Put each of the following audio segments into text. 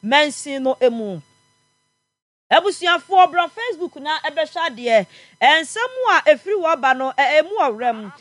mansin no mu. Abusuafoɔ bra Facebook na bɛhwɛ adeɛ. Nsɛm a ɛfiri hɔ ba no, ɛmu ɔwerɛm.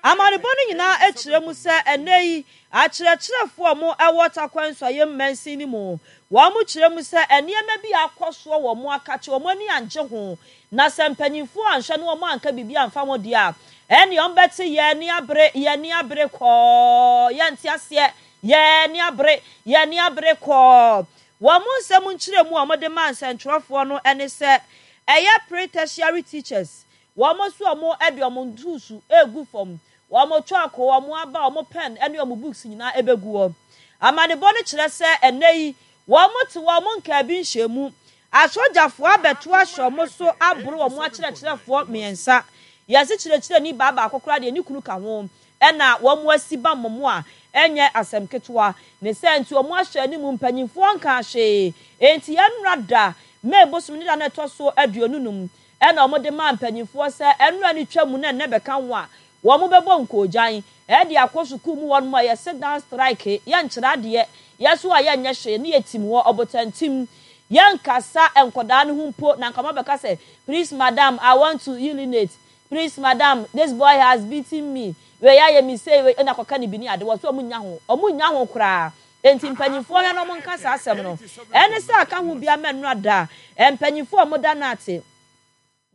Amanebɔ no nyinaa kyerɛ mu sɛ ɛnnɛ yi akyerɛkyerɛfoɔ a wɔwɔ Tarkwa Nsuaem mansin no mu, wɔkyerɛ mu sɛ nneɛma bi a akɔ soɔ wɔ wɔn akakye, wɔn ani angye ho, na sɛ mpanimfoɔ anhwɛ na wɔn anka biribi amfa ho deɛ a, ɛnneɛ wɔbɛte yɛn ani abere, yɛn ani abere kɔɔ, yɛnte aseɛ, yɛn ani abere, yɛn ani abere kɔɔ. Wɔn nsɛm nkyerɛmu a wɔde maa nsɛntwerɛfoɔ no ne sɛ ɛyɛ pre-tertiary teachers, wɔn nso wɔde wɔn ntuusu regu fam, wɔn chalk, wɔn aba, wɔn pen ne wɔn books nyinaa bɛgu hɔ. Amanebɔ no kyerɛ sɛ ɛnnɛ yi wɔte wɔn nkaabi nhyiamu, asogyafoɔ abɛto ahyɛ wɔn so aboro wɔn akyerɛkyerɛfoɔ mmiɛnsa, yɛse kyerɛkyerɛni baa baako koraa deɛ ne kunu ka ho, na wɔasi bammɔ mu a ɛnyɛ asɛm ketewa. Ne saa nti, wɔahyɛ anim mpanyimfoɔ nkaa hwee. Enti ɛnnora da, May bosome ne da no a ɛtɔ so 25 na wɔde maa mpanyimfoɔ sɛ ɛnnora no twa mu na ɛnnɛ bɛka ho a, wɔbɛbɔ nkoogyan de akɔ sukuu mu hɔnom a yɛse down strike, yɛnkyerɛ adeɛ, yɛso a yɛnyɛ hwee ne yɛtim hɔ ɔbotantim, yɛnkasa nkɔdaa no ho mpo na anka wɔabɛka sɛ please madam I want to urinate, Please madam this boy has beaten me wei ayɛ me sei wei ɛna kɔka ne bi ne ade wɔ so ɔmo nnya ho ɔmo nnya ho koraa enti mpanyinfoɔ hwɛ na ɔmo nka saa asɛm no ɛne sɛ aka ho bia mɛnora da mpanyinfoɔ ɔmo da nate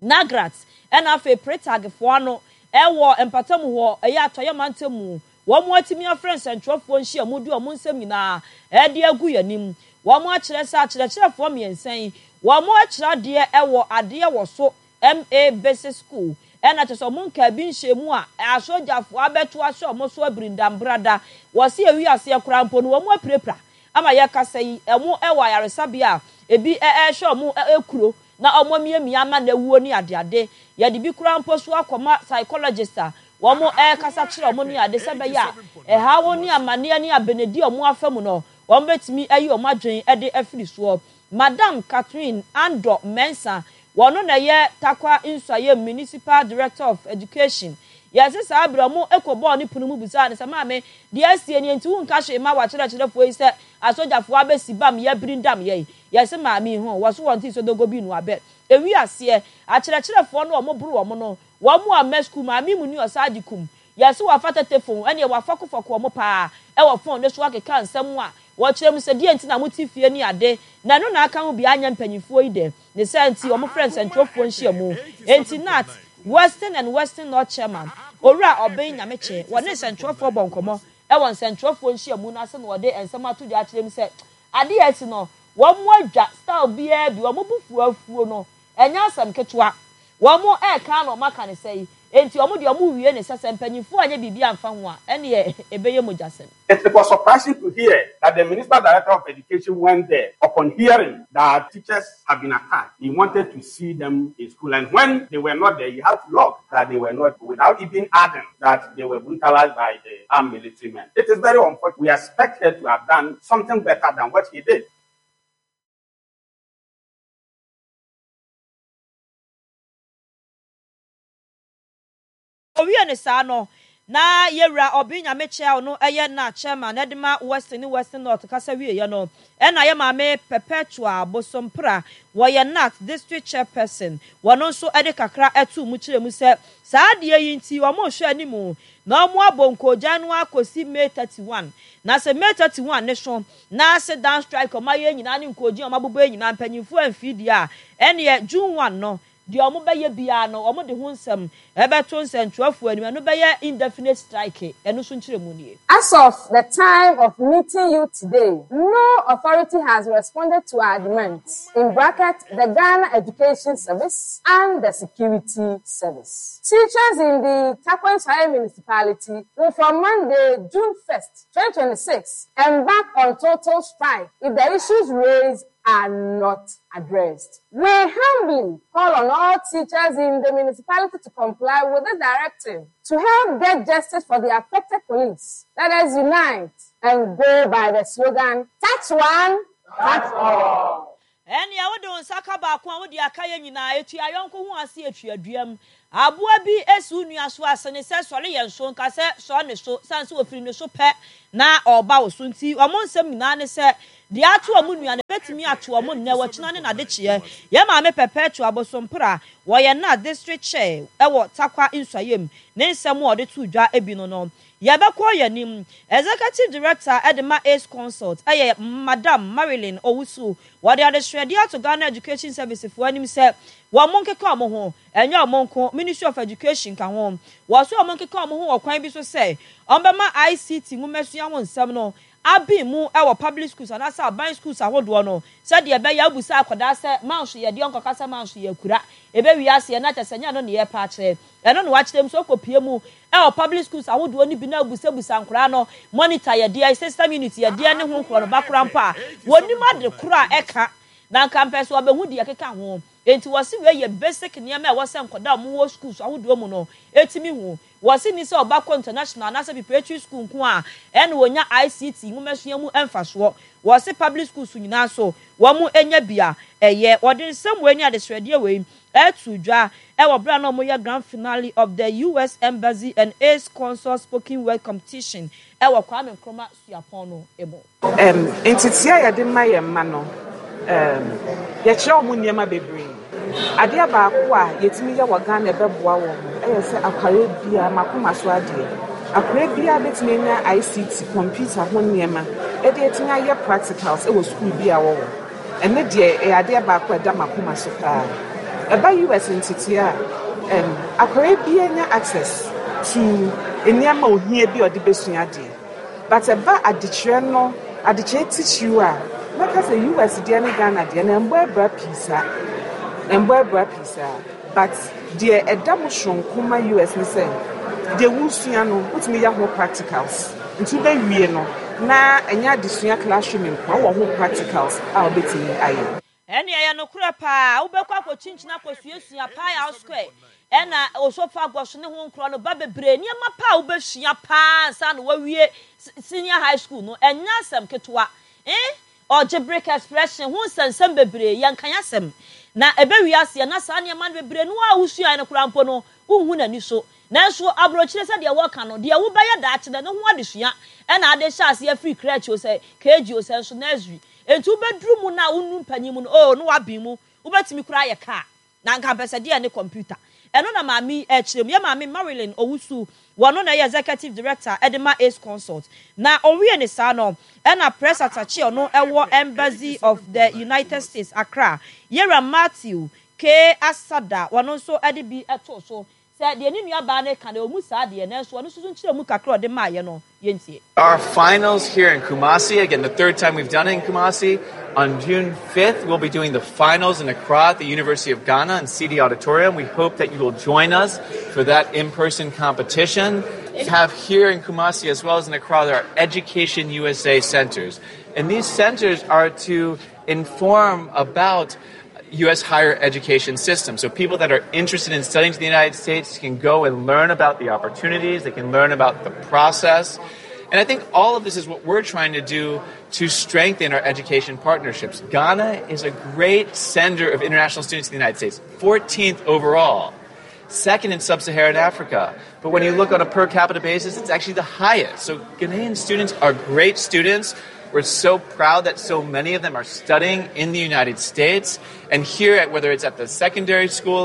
Nagrat ɛna afei Pretag foɔ ano ɛwɔ mpatamu hɔ ɛyɛ atɔeɛ mantam mu wɔn atumi afrɛ nsɛntwerɛfoɔ nhyiamu de wɔn nsɛm nyinaa ɛde agu yɛn anim wɔn akyerɛ sɛ akyerɛkyerɛfoɔ mmiɛnsa yi wɔn akyerɛ adeɛ ɛwɔ adeɛ wɔ so MA Basic School ɛna kyerɛ sɛ ɔmo nkaa bi nhyɛɛ mu a asogyafoɔ abɛto ahyɛ ɔmo so abirindambrada. Wɔse ewi aseɛ koraa mpo no wɔn apirapira ama yɛkasa yi ɔmo wɔ ayaresabea a ebi ɛɛhwɛ ɔmo kuro na ɔmo amiamia ama no awuo ne adeade. Yɛde bi koraa mpo so akɔma psychologist a wɔn ɛɛkasa kyerɛ ɔmo ne ade sɛ ɛbɛyɛ a ɛhaw ne amaneɛ ne abenedi a ɔmo afa mu no wɔn bɛtumi ayi ɔmo adwene de afiri soɔ. Madam Catherine Andor Mensah, wɔno na ɛyɛ Tarkwa Nsuaem Municipal Director of Education. Yɛse saa berɛ ɔmo kɔ bɔɔ ne pono mu bisaa no sɛ, Maame, deɛ asie nie nti wonka hwee mma w'akyerɛkyerɛfoɔ yi sɛ asogyafoɔ abɛsi bam yɛ birindam yɛn? Yɛse maame yi ho, wɔso wɔntee sodogo bi no abɛ. Ewi aseɛ, akyerɛkyerɛfoɔ no ɔmo boro wɔn no, wɔn amma sukuu, maame mu ni ɔsaa de kum. Yɛse wafa tetefon, ɛneɛ wafɔkofɔko ɔmo paa ɛwɔ fon no so akeka nsɛm a Wɔkyerɛ mu sɛ, Deɛn nti na mote fie ne ade, na ɛno na aka ho bi anyɛ mpanyimfoɔ yi dɛ? Ne saa nti, wɔfrɛɛ nsɛntwerɛfoɔ nhyiamu. Enti Nat. Western and Western North Chairman, Owura Obeng Nyamekye, wɔne nsɛntwerɛfoɔ bɔɔ nkɔmmɔ wɔ nsɛntwerɛfoɔ nhyiamu no ase na wɔde nsɛm ato dwa akyerɛ mu sɛ, adeɛ a asi no, wɔadwa style biara bi, wɔn bo fuo afuo no, ɛnyɛ asɛm ketewa. Wɔn reka na wɔaka no sɛi, enti wɔn deɛ wɔrewie no sɛ, sɛ mpanyimfoɔ anyɛ biribi amfa ho a, ɛnneɛ ɛbɛyɛ mogyasɛm. It was surprising to hear that the Minister Director of Education went there upon hearing that teachers have been attacked. He wanted to see them in school, and when they were not there, he had to log that they were not, without even adding that they were brutalized by the armed military men. It is very unfortunate. We expect her to have done something better than what he did. Owiee no saa no, na Yewura Obeng Nyamekyɛ a ɔno yɛ na Chairman de ma Western ne Western North kasa wieɛ no, ɛna yɛ maame Perpetua Bosompra, wɔyɛ Nat District Chairperson, wɔno nso de kakra too mu kyerɛɛ mu sɛ saa adeɛ yi nti wɔrehwɛ anim na wɔabɔ nkoogyan no ara kɔsi May 31, na sɛ May 31 no so na sit down strike a wɔayɛ nyinaa ne nkoogyen a wɔabobɔ yi nyinaa mpanyinfoɔ amfiri deɛ a, ɛneɛ June 1 no Deɛ wɔbɛyɛ biara no, wɔde ho nsɛm bɛto nsɛntwerɛfoɔ anim. Ɛno bɛyɛ indefinite strike. Ɛno nso nkyerɛmu nie. As of the time of meeting you today, no authority has responded to our demands, in bracket, the Ghana Education Service and the Security Service. Teachers in the Tarkwa-Nsuaem Municipality will from Monday, June 1st, 2026, embark on total strike if the issues raised are not addressed. We humbly call on all teachers in the municipality to comply with the directive to help get justice for the affected colleagues. Let us unite and go by the slogan, Touch one, touch all. Ɛnneɛ wode wo nsa ka baako a, wode aka yɛn nyinaa. Etua yɔnko ho ase, etua duam. Aboa bi si wo nua so a, sene sɛ sɔre yɛn so, nka sɛ sɔre ne so, sane sɛ ɔfiri ne so pɛ na ɔreba wo so. Nti wɔn nsɛm nyinaa ne sɛ, deɛ ato wɔn nua no, ɛbɛtumi ato wɔn nnɛ, ɔkyena ne n'adekyeɛ. Yɛn maame Perpetua Abosompra, wɔyɛ na District Chair wɔ Tarkwa Nsuaem, ne nsɛm a ɔde too dwa bi no no. Yɛbɛkɔ yɛn anim. Executive Director de ma Ace Consult yɛ Madam Marilyn Owusu. Wɔde adesrɛdeɛ ato Ghana Education Service foɔ anim sɛ wɔn nkeka wɔn ho, ɛnyɛ wɔn nko, Ministry of Education ka ho. Wɔse wɔn nkeka wɔn ho wɔ kwan bi so sɛ wɔbɛma ICT nwomasua ho nsɛm no aben mu wɔ public schools anaasɛ aban schools ahodoɔ no sɛdeɛ ɛbɛyɛ a wobisa akwadaa sɛ manso yɛ deɛ ɔnkɔka sɛ manso yɛ akura. Ɛbɛwie aseɛ na kyerɛ sɛ ɛnyɛ ɛno na yɛrepɛ akyerɛ. Ɛno na wɔakyerɛ mu sɛ wokɔpue mu wɔ public schools ahodoɔ no bi na wobusabusa nkwadaa no monitor yɛ deɛ, system unit yɛ deɛ ne ho nkorɔ no ba koraa mpo a, wɔnnim ade korɔ a ɛka na anka mpɛ sɛ wɔbɛhu deɛ ɛkeka ho. Enti wɔse wei yɛ basic nneɛma a ɛwɔ sɛ nkwadaa a wɔwɔ schools ahodoɔ mu no tumi hu. Wɔse nni sɛ ɔba kɔ international anaasɛ preparatory school nko a ɛna wɔnya ICT nwomasua mu mfasoɔ. Wɔse public schools nyinaa nso wɔn nya bi a ɛyɛ. Wɔde nsɛm wei ne adesrɛdeɛ wei too dwa wɔ berɛ a na wɔyɛ Grand Finale of the US Embassy and Ace Consult Spoken Word Competition wɔ Kwame Nkrumah Suapɔn no mu. Ntetee a yɛde ma yɛn mma no, yɛkyerɛ wɔn nneɛma bebree. Adeɛ baako a yɛtumi yɛ wɔ Ghana a ɛbɛboa wɔn yɛ sɛ akwadaa biara, m'akoma so adeɛ, akwadaa biara bɛtumi anya ICT, kɔmputa ho nneɛma de atumi ayɛ practicals wɔ sukuu bi a wɔwɔ. Ɛno deɛ ɛyɛ adeɛ baako a ɛda m'akoma so paa. Ɛba US ntetee a, akwadaa biara nya access to nneɛma a ohia bi a ɔde bɛsua adeɛ. But ɛba adekyerɛ no, adekyerɛ titiriw a, mɛka sɛ US deɛ ne Ghana deɛ no ɛmbɔ abira pii saa. Ɛmbɔ abira pii saa. But deɛ ɛda mu soronko ma US ne sɛ, deɛ wosua no, wotumi yɛ ho practicals. Nti wobɛwie no, na ɛnyɛ adesua classroom nko a, wowɔ ho practicals a wobɛtumi ayɛ. Ɛnneɛ ɛyɛ nokorɛ paa, wobɛkɔ akɔkyinkyini akɔsuasua Payao Square ɛna Osophagus ne ho nkorɔ no ba bebree, nneɛma pa a wobɛsua paa ansa na woawie senior high school no, ɛnyɛ asɛm ketewa. Eh, algebraic expression ho nsɛnsɛm bebree, yɛnkan asɛm. Na ɛbɛwie aseɛ na saa nneɛma no bebree no a wosuaeɛ no koraa mpo no, wonhu n'ani so. Nanso aburokyire sɛdeɛ wɔka no, deɛ wobɛyɛ daakye no, ɛno ho adesua na ade hyɛ aseɛ firi crèche o sɛ KG o sɛ nso nursery. Enti wobɛduru mu no a wonnuru mpanyin mu no, oh, na woaben mu. Wobɛtumi koraa ayɛ car. Na anka mpɛ sɛ deɛ ne computer. Ɛno na maame yi rekyerɛ mu. Yɛn maame Marilyn Owusu, wɔno na ɛyɛ Executive Director de ma Ace Consult. Na ɔwie ne saa no, ɛna Press Attaché ɔno wɔ Embassy of the United States, Accra, Yɛwura Matthew K. Asada, wɔno nso de bi too so Sɛ deɛ ne nua baa no reka no, ɛwɔ mu saa deɛ, nanso ɔno nso so nkyerɛmu kakra a ɔde maeɛ no, yɛntie. Our finals here in Kumasi, again, the third time we've done it in Kumasi. On June 5th, we'll be doing the finals in Accra at the University of Ghana in CD Auditorium. We hope that you will join us for that in person competition. We have here in Kumasi as well as in Accra, there are Education USA centers. And these centers are to inform about U.S. higher education system. So people that are interested in studying to the United States can go and learn about the opportunities, they can learn about the process. And I think all of this is what we're trying to do to strengthen our education partnerships. Ghana is a great sender of international students to the United States, 14th overall, second in sub Saharan Africa. But when you look on a per capita basis, it's actually the highest. So Ghanaian students are great students. We're so proud that so many of them are studying in the United States. And here, at, whether it's at the secondary school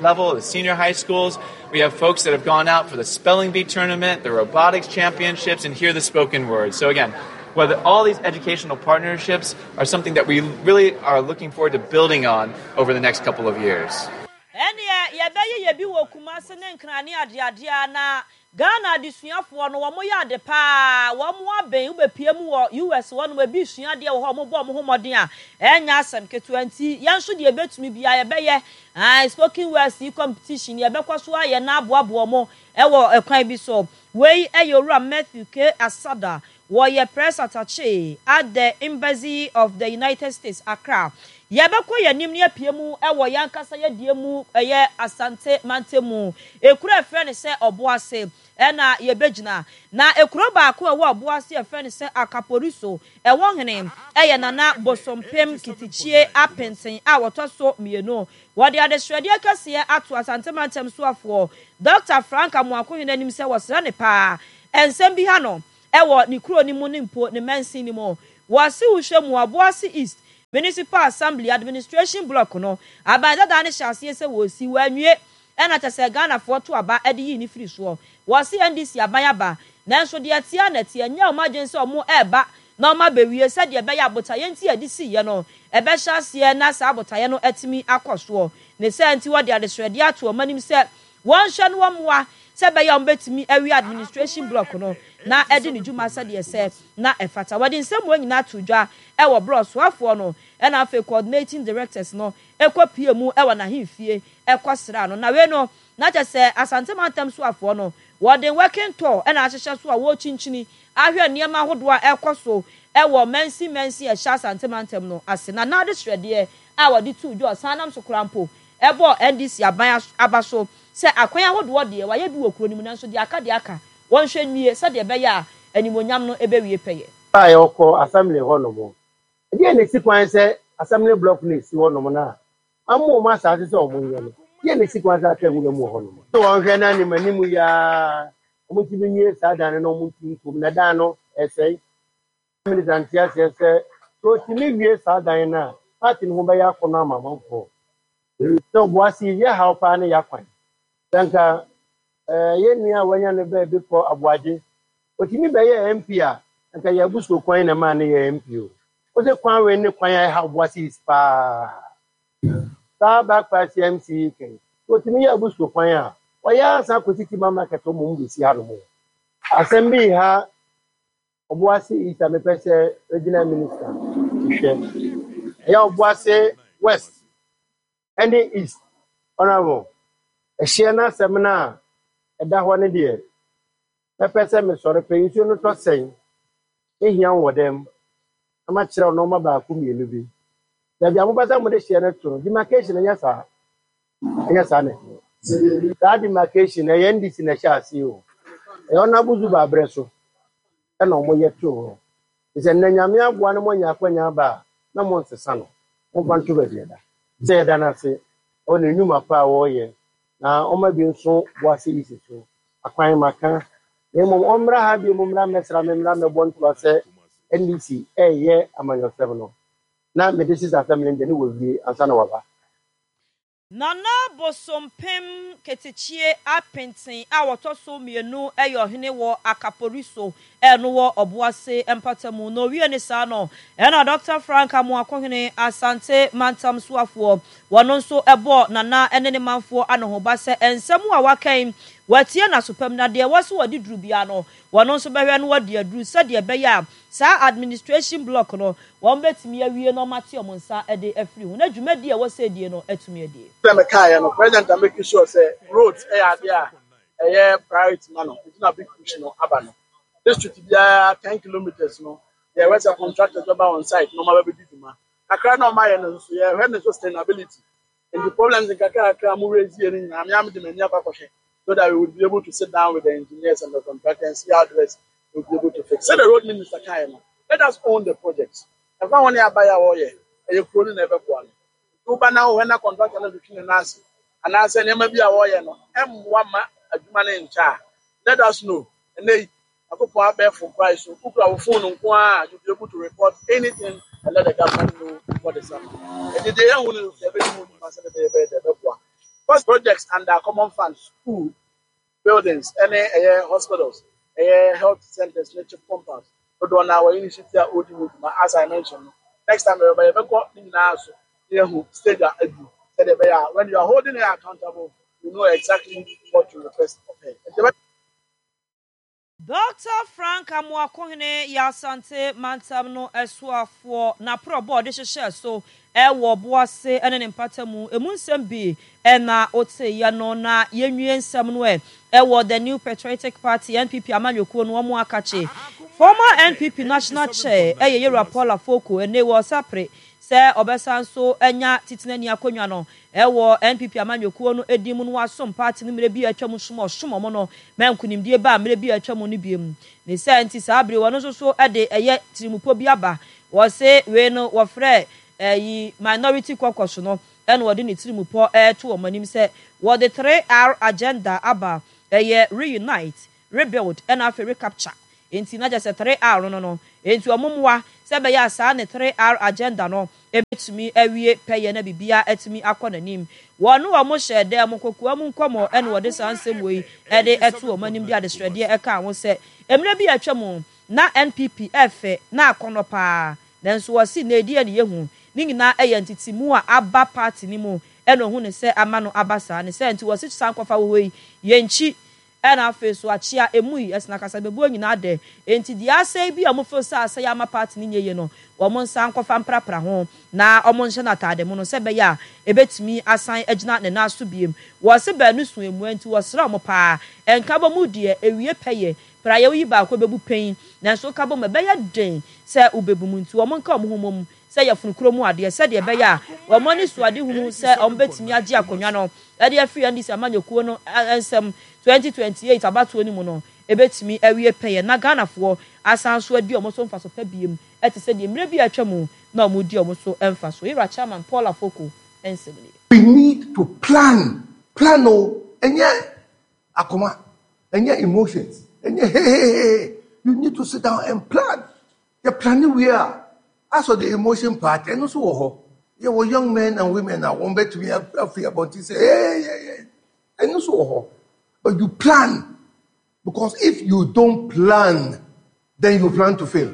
level, the senior high schools, we have folks that have gone out for the spelling bee tournament, the robotics championships, and hear the spoken word. So again, whether all these educational partnerships are something that we really are looking forward to building on over the next couple of years. Ɛnneɛ yɛbɛyeyɛ bi wɔ Kumase ne Nkran ne adeadeɛ a na Ghana adesuafoɔ no wɔn yɛ ade paa wɔn aben wobɛpie mu wɔ US hɔ nom ebi resua adeɛ wɔ hɔ wɔn bɔ wɔn ho mmɔden a ɛnyɛ asɛm ketewa nti yɛn nso deɛ yɛbɛtumi biara yɛbɛyɛ ae spoken words yi competition yɛbɛkɔ so ayɛ na aboaboa wɔn wɔ ɛkwan bi so. Wei yɛ Owura Matthew K. Asada. Wɔyɛ Press Attaché at the Embassy of the United States, Accra. Yɛbɛkɔ yɛn anim na yɛapue mu wɔ yɛn ankasa yɛdeɛ mu, ɛyɛ Asante mantam mu. Ekuro a yɛfrɛ no sɛ Ɔboase na yɛbɛgyina. Na ekuro baako a ɛwɔ Ɔboase a yɛfrɛ no sɛ Akaporiso, ɛhɔ hene yɛ Nana Bosompem Kitikyie Apenten a ɔtɔ so mmienu. Wɔde adesrɛdeɛ kɛseɛ ato Asante mantam soafoɔ Dɔkta Frank Amoakohene anim sɛ wɔsrɛ no paa nsɛm bi ha no wɔ ne kuro no mu ne mpo ne mansin no mu. Wɔse wohwɛ mu a, Obuasi East Municipal Assembly Administration Block no, aban dadaa no hyɛɛ aseɛ sɛ wɔresi, wɔanwie, ɛna kyɛ sɛ Ghanafoɔ to aba de yii no firi soɔ. Wɔse NDC aban aba, nanso deɛ ɛteɛ ara na ɛteɛ, ɛnyɛ wɔn adwene sɛ wɔn reba na wɔn abɛwie sɛdeɛ ɛbɛyɛ a botaeɛ nti a yɛde siiɛ no ɛbɛhyɛ aseɛ na saa botaeɛ no atumi akɔ soɔ. Ne saa nti wɔde adesrɛdeɛ ato wɔn anim sɛ Wɔnhwɛ na wɔmmoa sɛ ɛbɛyɛ a wɔbɛtumi awie administration block no na adi ne dwuma sɛdeɛ ɛsɛ na ɛfata. Wɔde nsɛmmoa nyinaa too dwa wɔ berɛ a ɔsoafoɔ no na afei coordinating directors no kɔ pue mu wɔ n'ahemfie kɔ sraa no. Na wei no na kyerɛ sɛ Asante mantam soafoɔ no wɔde working tour na ahyehyɛ so a wɔrekyinkyini ahwɛ nneɛma ahodoɔ a ɛrekɔ so wɔ mansin mansin a ɛhyɛ Asante mantam no ase. Na n'adesrɛdeɛ a wɔde too dwa ɔsan nam so koraa mpo Ɛbɔɔ NDC aban aba so sɛ akwan ahodoɔ deɛ wɔayɛ bi wɔ kuro no mu nanso deɛ aka deɛ aka wɔnhwɛ nwie sɛdeɛ ɛbɛyɛ a animuonyam no bɛwie pɛyɛ. A yɛkɔ assembly hɔ nom. Ɛdeɛn na ɛsi kwan sɛ assembly block no a ɛsi hɔ nom no a ama wɔn asaase sɛ wɔn nyɛ no, deɛn na ɛsi kwan sɛ aka nwura mu wɔ hɔ nom? Sɛ wɔn hwɛ na anim anim yi ara wɔn ntumi nwie saa dan no na wɔn ntu nkɔ mu na dan no ɛresɛe. Minister nte aseɛ sɛ sɛ ɔtumi wie saa dan no a party no ho bɛyɛ akɔnɔ ama amanfoɔ. Sɛ Obuasi yɛ haw paa ne yakwan. Sɛ nka eh, yɛn nua a wanya no baabi kɔ Aboagye, ɔtumi bɛyɛɛ MP a, nka yɛn abusuo kwan na ɛmaa no yɛɛ MP o. Wo se kwan wei ne kwan a ɛha Obuasi East paa. Saa back party MC yi kɛn, sɛ ɔtumi yɛ abusuo kwan a, ɔyɛ ansa kɔsi Tima Market hɔ mmom bɛsi hanom o. Asɛm bi reha Obuasi East a mepɛ sɛ regional minister hwɛ. Ɛyɛ Obuasi West ɛne East. Honourable, ɛhyeɛ no asɛm no a ɛda hɔ no deɛ, mɛpɛ sɛ mesɔre pɛ nsuo no tɔ sɛn, mɛhia wo wɔ dɛm na makyerɛ wo nnoɔma baako mmienu bi. Baabi a mopɛ sɛ mode hyeɛ no to no, demarcation nyɛ saa. Ɛnyɛ saa na ɛteɛ. Saa demarcation no, ɛyɛ NDC na ɛhyɛ aseɛ o. Ɛyɛ Honourable Zuba berɛ so ɛna wɔyɛ too hɔ. Nti sɛ nnɛ Nyame aboa na moanya akwanya aba a, na monsesa no. Momfa nto baabi ɛda. Sɛ yɛda no ase wɔ ne nnwuma pa a ɔreyɛ na ɔma bi nso boa se isi so akwan maka na mmom ɔmmra ha bio mmra mmɛsra me mmra mmɛbɔ ntoa sɛ NDC reyɛ amanyɔsɛm no na mede sisa asɛm no deɛ ne wawie ansa na waba. Nana Bosompem Ketekyie Apenten a ɔtɔ so mmienu yɛ ɔhene wɔ Akaporiso no wɔ Ɔboase mpatamu. Na ɔwie ne saa no, ɛna Dɔkta Frank Amoakohene, Asante mantam soafoɔ, wɔno nso bɔɔ Nana ne ne manfoɔ anohoba sɛ nsɛm a waka yi, wɔatie n'asopam na deɛ ɛwɔ sɛ wɔde duru biara no, wɔno nso bɛhwɛ na wɔde aduru sɛdeɛ ɛbɛyɛ a saa administration block no, Wɔbɛtumi awie na wɔate wɔn nsa de afiri ho, na dwumadie a ɛwɔ sɛ ɛdie no atumi adie. Sɛdeɛ mekaeɛ no, President a make sure sɛ roads yɛ adeɛ a ɛyɛ priority ma no, nti na big push no aba no. District biara 10 kilometres no, yɛhwɛ sɛ contractors bɛba on site na wɔaba bɛdi dwuma. Kakra na wɔayɛ no nso, yɛhwɛ ne sustainability. Nti problems nkakrakra a mo raise yɛ no nyinaa, me ara mede m'ani akɔ akɔhwɛ so that we would be able to sit down with the engineers and the contractors and see how best we would be able to fix. Sɛdeɛ road minister kaeɛ no, let us own the project. Ɛmfa ho ne aban a wɔyɛ, ɛyɛ kuro no na ɛbɛboa no. Nti woba na wohwɛ na contractor no twetwe ne nan ase anaasɛ nneɛma bi a wɔyɛ no mmoa ma adwuma no nkyɛ a, let us know. Ɛnnɛ yi, Nyankopɔn abɛɛfo kwan so, wokura wo phone nko ara a, you be able to report anything and let the government know what is happening. Enti deɛ yɛahu no, yɛbɛdi ho dwuma sɛdeɛ ɛbɛyɛ ɛbɛyɛ dɛ ɛbɛboa. First projects under common fund, school buildings ɛne ɛyɛ hospitals, ɛyɛ health centers ne chip compounds dodoɔ no ara wɔyɛ initiative a wɔredi ho dwuma as I mentioned no. Next time yɛbɛba yɛbɛkɔ ne nyinaa so na yɛahu stage a aduru sɛdeɛ ɛbɛyɛ a when you are holding her accountable, you know exactly what to request of her. Nti yɛbɛ. Dɔkta Frank Amoakohene yɛ Asante mantam no soafoɔ. N'aporɔbɔ a ɔde hyehyɛɛ so wɔ Ɔboase ne ne mpatamu emu nsɛm bi na woteeɛ no. Na yɛnwie nsɛm no ɛ wɔ The New Patriotic Party, NPP, amanyɔkuo no wɔn akakye. Former NPP National Chair yɛ Yewura Paul Afoko ɛnnɛ yi wɔ ɔsapre sɛ ɔbɛsan nso anya titenani akonnwa no wɔ NPP amanyɔkuo no din mu na wasom party no mmerɛ bi a atwa mu som a ɔsom wɔn no ma nkunimdie baa mmerɛ bi a atwa mu no biom. Ne saa nti saa bere yi ɔno nso so de ɛyɛ tirimupɔ bi aba. Wɔse wei no wɔfrɛ ɛyi Minority Caucus no ɛna ɔde ne tirimupɔ reto wɔn anim sɛ wɔde 3R agenda aba ɛyɛ Reunite, Rebuild ɛna afei Recapture. Enti na kyerɛ sɛ 3R no no, enti wɔn mmoa sɛ ɛbɛyɛ a saa ne 3R agenda no bɛtumi awie pɛyɛ na biribiara atumi akɔ n'anim. Wɔne wɔn hyɛɛ dan mu kokoa mu nkɔmmɔ ɛna wɔde saa nsɛm wei de to wɔn anim de adesrɛdeɛ kaa ho sɛ mmerɛ bi a atwa mu na NPP ɛfɛ na akɔnnɔ paa nanso wɔse nnɛ deɛ ne yɛhu ne nyinaa ɛyɛ ntetemu a aba party no mu ɛna ɔhu no sɛ ama no aba saa ne saa nti wɔse sankɔfa wɔ hɔ yi yɛnkyi Ɛna afei so akyea emu yi ɛsena kasabebuo nyinaa dɛ enti deɛ asɛe bi a ɔmo feel sɛ asɛe ama party no nyɛ yie no wɔn nsa nkɔfa mprapra ho na ɔmo nhyɛ no ataade mono sɛ ɛbɛyɛ a ɛbɛtumi asan agyina ne nan so biem. Wɔse baanu so emua nti wɔsrɛ ɔmo paa nkabɔ mu deɛ ewie pɛyɛ praeɛ woyi baako ɛbɛbu pɛn nanso woka bɔ mu ɛbɛyɛ den sɛ wobɛbu mu nti wɔn nka ɔmo ho mmom sɛ yafunu kuro mu adeɛ sɛdeɛ ɛbɛyɛ a wɔn anisoadehunu sɛ wɔn bɛtumi agye akonnwa no de afiri NDC amanyɔkuo no nsam 2028 abatoɔ no mu no ɛbɛtumi awie pɛyɛ na Ghanafoɔ asan nso adi wɔn so mfaso pa biom te sɛ deɛ mmerɛ bi a atwa mu na wɔn redi wɔn so mfasoɔ. Yɛwura Chairman Paul Afoko nsɛm nie. We need to plan, plan o, ɛnyɛ akoma, ɛnyɛ emotions, ɛnyɛ hehehehe, you need to sit down and plan. Yɛ plane wie a, as for the emotion part, ɛno nso wɔ hɔ. Yɛwɔ young men and women a wɔn bɛtumi afiri abɔnten sɛ hey, hey, hey. Ɛno nso wɔ hɔ. But you plan because if you don't plan, then you plan to fail.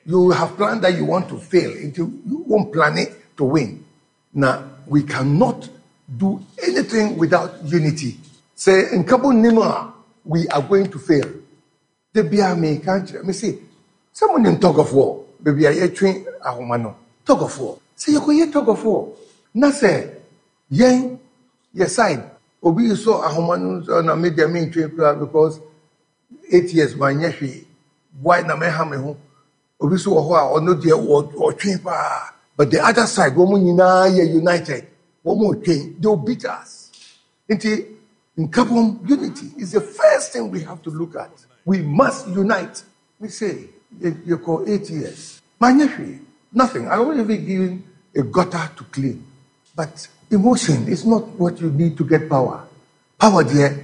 You have planned that you want to fail until you won't plan it to win. Now we cannot do anything without unity. Say nkabo nima, we are going to fail. Da biara meka kyerɛ, mese, sɛ monim tɔgɔfoɔ, baabi a yɛtwe ahoma no, tɔgɔfoɔ. Sɛ yɛkɔyɛ tɔgɔfoɔ na sɛ yɛn yɛ side obi sɔ ahoma no nso na me deɛ mentwe koraa because 8 years manyɛ hwee, why na mɛha me ho? Obi nso wɔ hɔ a ɔno deɛ ɔtwe paa, but the other side wɔn nyinaa yɛ united, wɔn retwe, they will beat us. Nti nkabom, unity is the first thing we have to look at. We must unite. Me say, yɛkɔ 8 years. Manyɛ hwee, nothing. I wasn't even given a gutter to clean. But emotion is not what you need to get power. Power deɛ,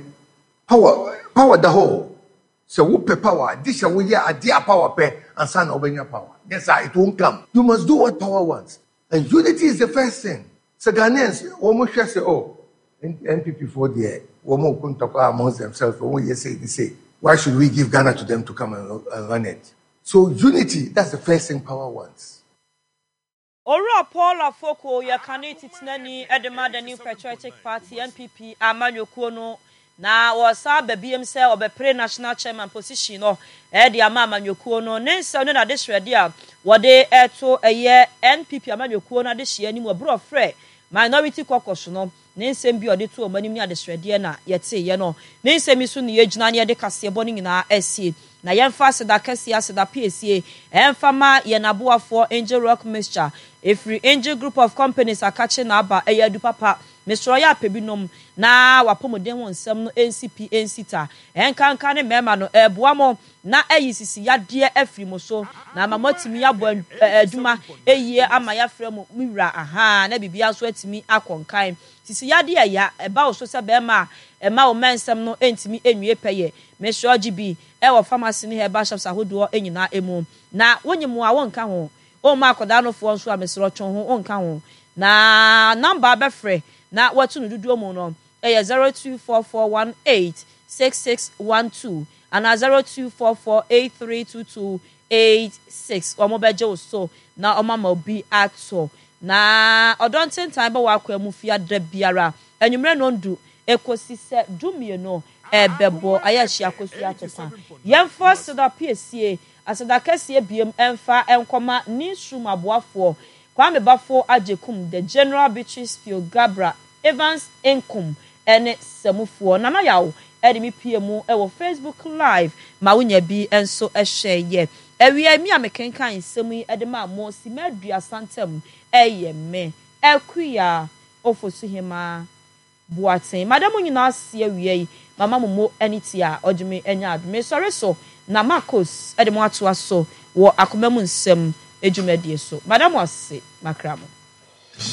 power, power da hɔ. Sɛ wopɛ power, gye sɛ woyɛ adeɛ a power pɛ ansa na wobɛnya power. Yes, sir, it won't come. You must do what power wants. And unity is the first thing. Sɛ Ghanaians, wɔn hwɛ sɛ, oh, NPP foɔ deɛ, wɔn ko ntɔkwa amongst themselves, wɔn yɛ sei ne sei. Why should we give Ghana to them to come and run it? So unity, that's the first thing power wants. Owura Paul Afoko yɛ kane titenani de ma The New Patriotic Party, NPP, amanyɔkuo no na ɔresan aba biom sɛ ɔbɛpere National Chairman position no de ama amanyɔkuo no. Ne nsɛm ne n'adesrɛdeɛ a wɔde reto ɛyɛ NPP amanyɔkuo no adehyeɛ anim wɔ berɛ a ɔfrɛ Minority Caucus no. Ne nsɛm bi a ɔde too wɔn anim ne adesrɛdeɛ na yɛteeɛ no. Ne nsɛm yi so na yɛgyina na yɛde kaseɛbɔ no nyinaa asie. Na yɛmfa aseda kɛseɛ, aseda piesie, mfa ma yɛn aboafoɔ Angel Rock Mixture. Ɛfiri Angel Group of Companies akakye na aba, ɛyɛ adu papa. Mesrɛ yɛ apɛ bi nom na w'apɔmuden ho nsɛm no nsi pi nsi ta. Ɛnkanka ne mmarima no, ɛreboa mo na ayi sisi yadeɛ afiri mo so, na ama moatumi abɔ adwuma yie ama yɛafrɛ mo me wura, ahaa, na biribiara nso atumi akɔ nkan. Sisi yadeɛ ɛya, ɛba wo so sɛ barima a, ɛma wo mmɛnsɛm no ntumi nwie pɛyɛ. Mesrɛ gye bi wɔ pharmacy ne herbal shops ahodoɔ nyinaa mu. Na wonye mo a wonka ho, womma akwadaa no foɔ nso a, mesrɛ twe wo ho wonka ho. Na number a bɛfrɛ na woatu no dodoɔ mu no yɛ 0244186612. Anaa 0244832286 wɔn bɛgye wo so na wɔn ama obi atɔ. Na ɔdɔ ntentan bɛ w'akwaa mu fiada biara anwummerɛ nɔndu ɛkɔsi sɛ dumienu ɛbɛbɔ ayɛ ahyia kosua atopa. Yɛmfa aseda piesie, aseda kɛseɛ biem ɛmfa nkɔma Newsroom aboafoɔ Kwame Baffour Agyekum, The General Beatrice Pio Gabra, Evans Nkum ne Samufoɔ. Nana Yaw de me pue mu wɔ Facebook live ma wo nya bi nso hwɛ yɛ. Awia yi, me a mekenkan nsɛm yi de maa mo simma aduasa ntam yɛ me, Akua Ofosuhemaa Boateng. Mada mo nyinaa ase awia yi, mama mo mo ani tia a ɔgye me anya adom. Mesɔre so na Marcos de mo atoa so wɔ akoma mu nsɛm dwumadie so. Mada mo ase, makra mo.